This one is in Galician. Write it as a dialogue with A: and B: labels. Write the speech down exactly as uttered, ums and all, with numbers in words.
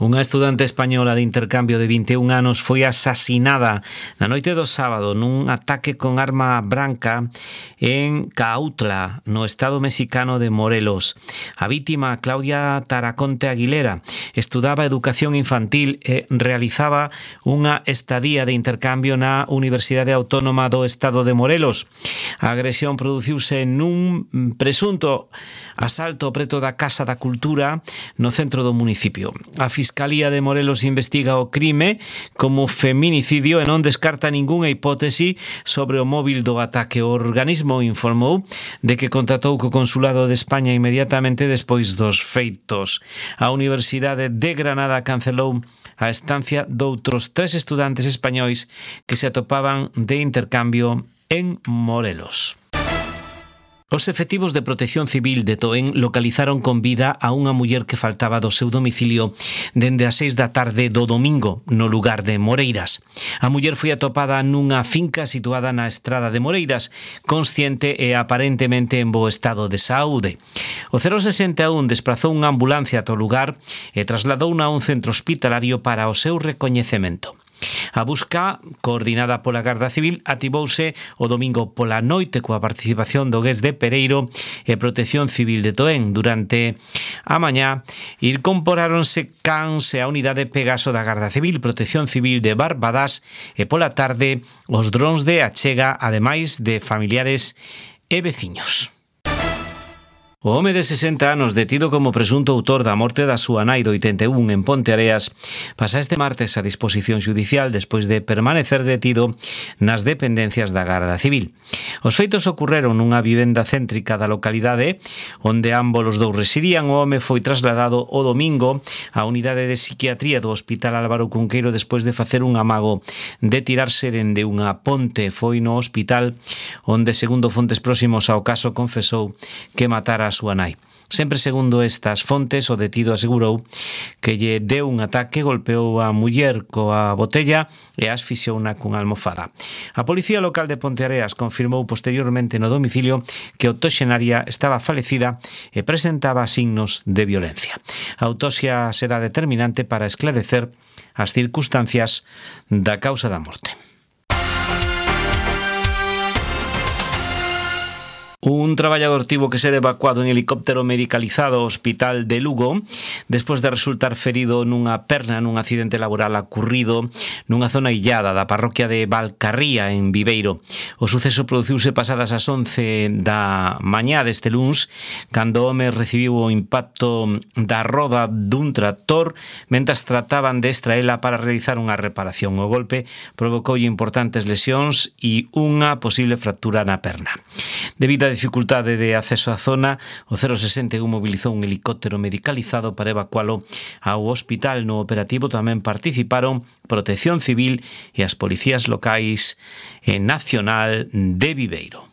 A: Unha estudante española de intercambio de vinte e un anos foi asasinada na noite do sábado nun ataque con arma branca en Cuautla, no estado mexicano de Morelos. A vítima, Claudia Taraconte Aguilera, estudaba educación infantil e realizaba unha estadía de intercambio na Universidade Autónoma do estado de Morelos. A agresión produciuse nun presunto asalto preto da Casa da Cultura no centro do municipio. A Fiscalía de Morelos investiga o crime como feminicidio e non descarta ningunha hipótese sobre o móvil do ataque. O organismo informou de que contactou co Consulado de España inmediatamente despois dos feitos. A Universidade de Granada cancelou a estancia doutros tres estudantes españois que se atopaban de intercambio en Morelos. Os efectivos de Protección Civil de Toén localizaron con vida a unha muller que faltaba do seu domicilio dende as seis da tarde do domingo no lugar de Moreiras. A muller foi atopada nunha finca situada na estrada de Moreiras, consciente e aparentemente en bo estado de saúde. O cero sesenta e un desprazou unha ambulancia ata o lugar e trasladouna a un centro hospitalario para o seu recoñecemento. A busca, coordinada pola Garda Civil, activouse o domingo pola noite coa participación do Gués de Pereiro e Protección Civil de Toén. Durante a mañá, incorporáronse cans e a unidade Pegaso da Garda Civil, Protección Civil de Barbadás e pola tarde os drons de achega, ademais de familiares e veciños. O home de sesenta anos, detido como presunto autor da morte da súa nai do oitenta e un en Ponteareas, pasa este martes a disposición judicial despois de permanecer detido nas dependencias da Garda Civil. Os feitos ocorreron nunha vivenda céntrica da localidade onde ambos os dous residían. O home foi trasladado o domingo á unidade de psiquiatría do Hospital Álvaro Cunqueiro despois de facer un amago de tirarse dende unha ponte. Foi no hospital onde, segundo fontes próximos ao caso, confesou que matara a súa nai. Sempre segundo estas fontes, o detido asegurou que lle deu un ataque, golpeou a muller coa botella e asfixiouna cunha almofada. A Policía Local de Ponteareas confirmou posteriormente no domicilio que a octoxenaria estaba falecida e presentaba signos de violencia. A autopsia será determinante para esclarecer as circunstancias da causa da morte. Un traballador tivo que ser evacuado en helicóptero medicalizado ao hospital de Lugo despois de resultar ferido nunha perna nun accidente laboral ocurrido nunha zona illada da parroquia de Valcarría, en Viveiro. O suceso produciuse pasadas as once da mañá deste luns, cando o home recibiu o impacto da roda dun tractor mentras trataban de extraela para realizar unha reparación. O golpe provocoulle importantes lesións e unha posible fractura na perna. Debido a dificultade de acceso á zona, o cero sesenta e un mobilizou un helicóptero medicalizado para evacualo ao hospital. No operativo tamén participaron Protección Civil e as policías locais e nacional de Viveiro.